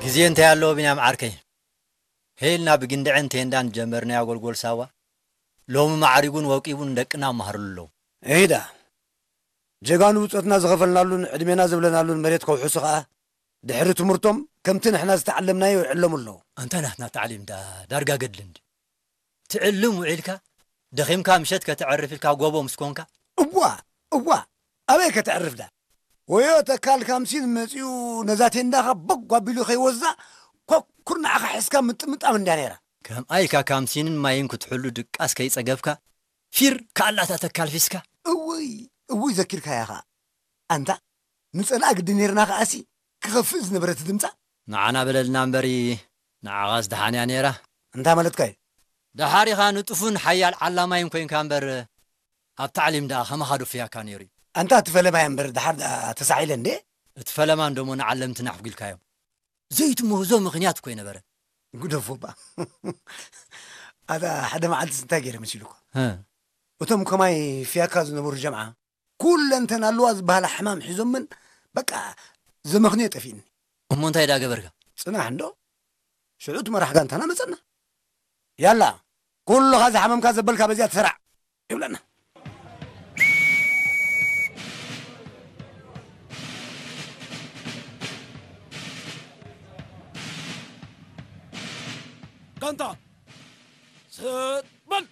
ግዜ እንታይ ኣለዎ ቢንያም ዓርከይ? ሄልና ብግንድዕን ቴንዳን ጀመርናዮ ጎልጎል ሳዋ፣ ሎሚ ማዕሪጉን ወቂቡን ደቅና መሃርሉ ኣለዉ። እሂዳ፣ ጀጋኑ ብጾትና ዝኸፈልናሉን ዕድሜና ዘብለናሉን መሬት ከውሕሱ ኸኣ፣ ድሕሪ ትምህርቶም ከምቲ ንሕና ዝተዓለምናዮ ይዕለሙ ኣለዉ። ኣንታ ናትና ታዕሊም ደኣ ዳርጋ ገድሊ እንድዩ። ትዕልም ውዒልካ፣ ደኺምካ ምሸት ከተዕርፍ ኢልካ ጎቦ ምስ ኮንካ። እዋ፣ እዋ፣ ኣበይ ከተዕርፍ ደኣ? ወዮ ተካል ካምሲን መጺኡ ነዛ ቴንዳኻ ቦግ ኣቢሉ ከይወስዳ፣ ኮኩር ንዓኻ ሒዝካ ምጥምጣም እንድያ ነይራ። ከምኣ ኢልካ ካምሲንን ማይን ክትሕሉ ድቃስ ከይጸገብካ፣ ፊር ከኣላታ ተካል ፊስካ። እውይ፣ እውይ ዘኪርካያ ኸኣ። ኣንታ፣ ንጸልኣ ግዲ ነይርና ኸኣሲ፣ ክኸፍእ ዝነበረ እቲ ድምጻ። ንዓና በለልና እምበሪ፣ ንዓኻስ ደሓን እያ ነይራ። እንታ ማለትካ እዩ? ደሓሪኻ ንጡፍን ሓያል ዓላማይን ኮይንካ እምበር፣ ኣብ ታዕሊም ደኣ ከማኻ ዶ ፍያካ ነይሩ እዩ? ኣንታ እቲ ፈለማይ እምበር ደሓር ደኣ ተሳዒረ እንዴ? እቲ ፈለማ እንዶሞ ንዓለምትና ኣሕጒልካዮም። ዘይትምህዞ ምኽንያት እኮ ኣይነበረን። ግደፎ እባ። ኣታ ሓደ መዓልትስ እንታይ ገይረ መሲሉካ? እ። እቶም ከማይ ፍያካ ዝነበሩ ጀምዓ ኩለንተን ኣለዋ ዝበሃላ ሕማም ሒዞምን በቃ ዘመኽንዮ ጠፊእኒ። እሞ እንታይ ደኣ ገበርካ? ጽናሕ እንዶ ሽዑ እቲ መራሕ ጋንታና መጸና። ያላ ኩሉኻ ዝሓመምካ ዘበልካ በዚኣ ትሰራዕ ይብለና። ጋንታ ሰጥ በል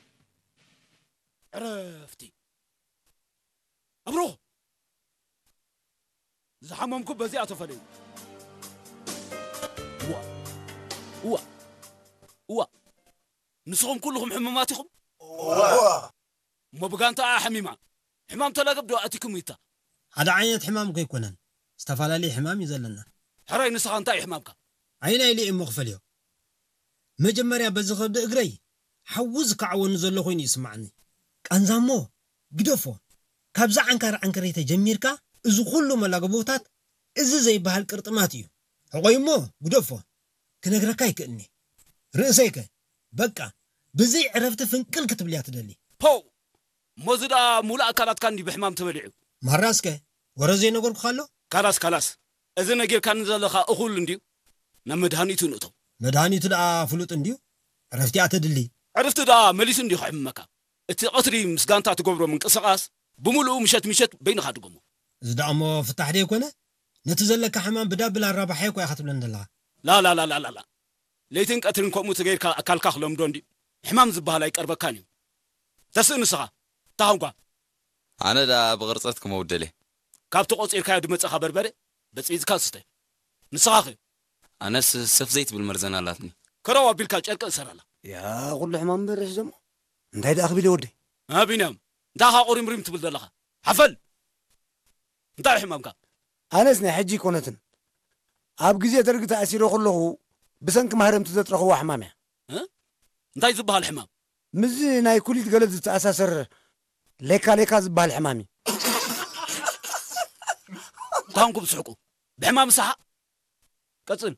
ዕረፍቲ ኣብሮ ዝሓመምኩ በዚኣ ተፈለዩ። እዋ እዋ እዋ ንስኹም ኩልኹም ሕሙማት ኢኹም? እሞ ብጋንታኣ ሓሚማ ሕማም ተላገብ ዶ ኣቲኩም ይታ? ሓደ ዓይነት ሕማም እኮ ኣይኮነን፣ ዝተፈላለየ ሕማም እዩ ዘለና። ሕራይ ንስኻ እንታይ እዩ ሕማምካ? ኣየናይ ኢለ እየ እሞ ክፈልዮ? መጀመርያ በዚ ከብዲ እግረይ ሓዊ ዝከዓወኒ ዘሎ ኮይኑ እዩ ዝስምዓኒ። ቃንዛ እሞ ግደፎ፣ ካብዛ ዓንካር ዓንከረይ ተጀሚርካ እዚ ኩሉ መላግቦታት እዚ ዘይበሃል ቅርጥማት እዩ። ሕቆይ እሞ ግደፎ፣ ክነግረካ ኣይክእልኒ። ርእሰይከ በቃ ብዘይ ዕረፍቲ ፍንቅል ክትብል እያ ትደሊ። ፖው! እሞ እዚ ደኣ ሙሉእ ኣካላትካ እንድዩ ብሕማም ተበሊዑ። ማራ እስከ ወረ ዘይነገርኩኻ ኣሎ? ካላስ ካላስ፣ እዚ ነጊርካኒ ዘለኻ እኹል እንድዩ። ናብ መድሃኒቱ ንእቶ። መድሃኒቱ ደኣ ፍሉጥ እንድዩ፣ ዕረፍቲ እያ ተድሊ። ዕርፍቲ ደኣ መሊሱ እንድዩ ከሕምመካ። እቲ ቀትሪ ምስ ጋንታ ትገብሮ ምንቅስቓስ ብምሉኡ ምሸት ምሸት በይንኻ ድገሞ። እዚ ደኣ እሞ ፍታሕ ደይኮነ? ነቲ ዘለካ ሕማም ብዳብል ኣራባሕዮ እኮ ኢኻ ትብለኒ ዘለኻ። ላላላላላላ ለይትን ቀትርን ከምኡ ተገይርካ ኣካልካ ክለምዶ እንድዩ። ሕማም ዝበሃል ኣይቀርበካን እዩ። ተስእ ንስኻ። ታሃንኳ። ኣነ ደኣ ብቕርጸት ክመውደል እየ። ካብቲ ቆጺርካዮ ድመጸኻ በርበረ በጺዝካ ስተ። ንስኻኸ? ኣነስ ሰፍ ዘይትብል መርዘን ኣላትኒ። ከረው ኣቢልካ ጨርቂ እሰራላ። ያ ኩሉ ሕማም በርሕ ዘሞ እንታይ ደኣ ክብል ወደይ? ቢንያም እንታይ ኢኻ ቁሪምሪም ትብል ዘለኻ? ሓፈል! እንታይ እዩ ሕማምካ? ኣነስ ናይ ሕጂ ኣይኮነትን። ኣብ ግዜ ደርጊ ተኣሲረ ከለኹ ብሰንኪ ማህረምቲ ዘጥረኽዋ ሕማም እያ። እ? እንታይ ዝበሃል ሕማም? ምስዚ ናይ ኩሊት ገለ ዝተኣሳሰር ሌካ ሌካ ዝበሃል ሕማም እዩ። ታንኩም ስሕቁ። ብሕማም ሰሓቕ። ቀጽል።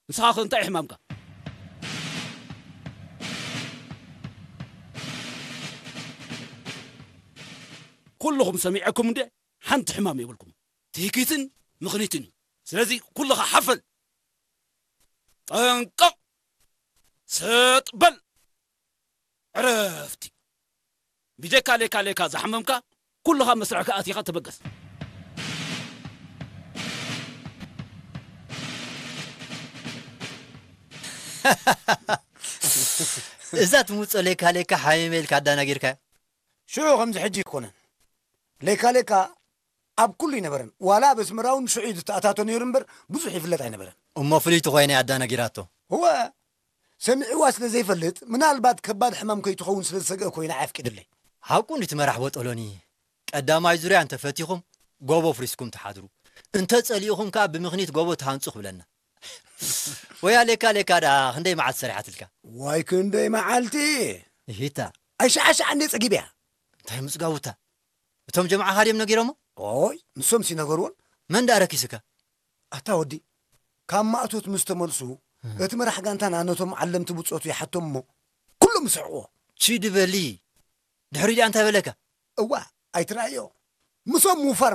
ንስኻ ኸ እንታይ እዩ ሕማምካ? ኩልኹም ሰሚዐኩም እንደ ሓንቲ ሕማም የብልኩም። ትህኪትን ምኽኒትን እዩ። ስለዚ ኩልኻ ሓፈል። ጠንቀቕ። ሰጥ በል። ዕረፍቲ። ብጀካ ሌካ ሌካ ዝሓመምካ ኩልኻ መስርሕካ ኣቲኻ ተበገስ። እዛ ትምውጾ ሌካ ሌካ ሓሚመ ኢልካ ኣዳናጊርካያ። ሽዑ ከምዚ ሕጂ ኣይኮነን። ሌካ ሌካ ኣብ ኩሉ ኣይነበረን። ዋላ ኣብ ኣስመራ እውን ሽዑ እዩ ዝተኣታቶ ነይሩ እምበር ብዙሕ ይፍለጥ ኣይነበረን። እሞ ፍልይቲ ኮይና እያ ኣዳናጊራቶ። እወ፣ ሰሚዕዋ ስለ ዘይፈልጥ ምናልባት ከባድ ሕማም ከይትኸውን ስለ ዝሰግአ ኮይና እያ ኣፍቂድለይ። ሓቁ እንድዩ እቲ መራሕ ቦጦሎኒ። ቀዳማይ ዙርያ እንተ ፈቲኹም ጎቦ ኣፍሪስኩም ትሓድሩ፣ እንተ ጸሊእኹም ከኣ ብምኽኒት ጎቦ ትሃንጹ ክብለና። ወያ ሌካ ሌካ ደኣ ክንደይ መዓልቲ ሰሪሓትልካ? ዋይ ክንደይ መዓልቲ! እሂታ። ኣይሸዓሸዓ እንዴ ጸጊበያ። እንታይ ምጽጋቡታ? እቶም ጀምዓኻ ድዮም ነጊሮሞ? ኦይ ንሶምሲ ነገርዎን። መን ደኣ ረኪስካ? ኣታ ወዲ ካብ ማእቶት ምስ ተመልሱ እቲ መራሕ ጋንታና ነቶም ዓለምቲ ብጾቱ ይሓቶም እሞ ኩሎም ይስሕቕዎ። ቺድ በሊ ድሕሪኡ ድኣ እንታይ በለካ? እዋ ኣይትረኣዮ ምሶም ምውፋር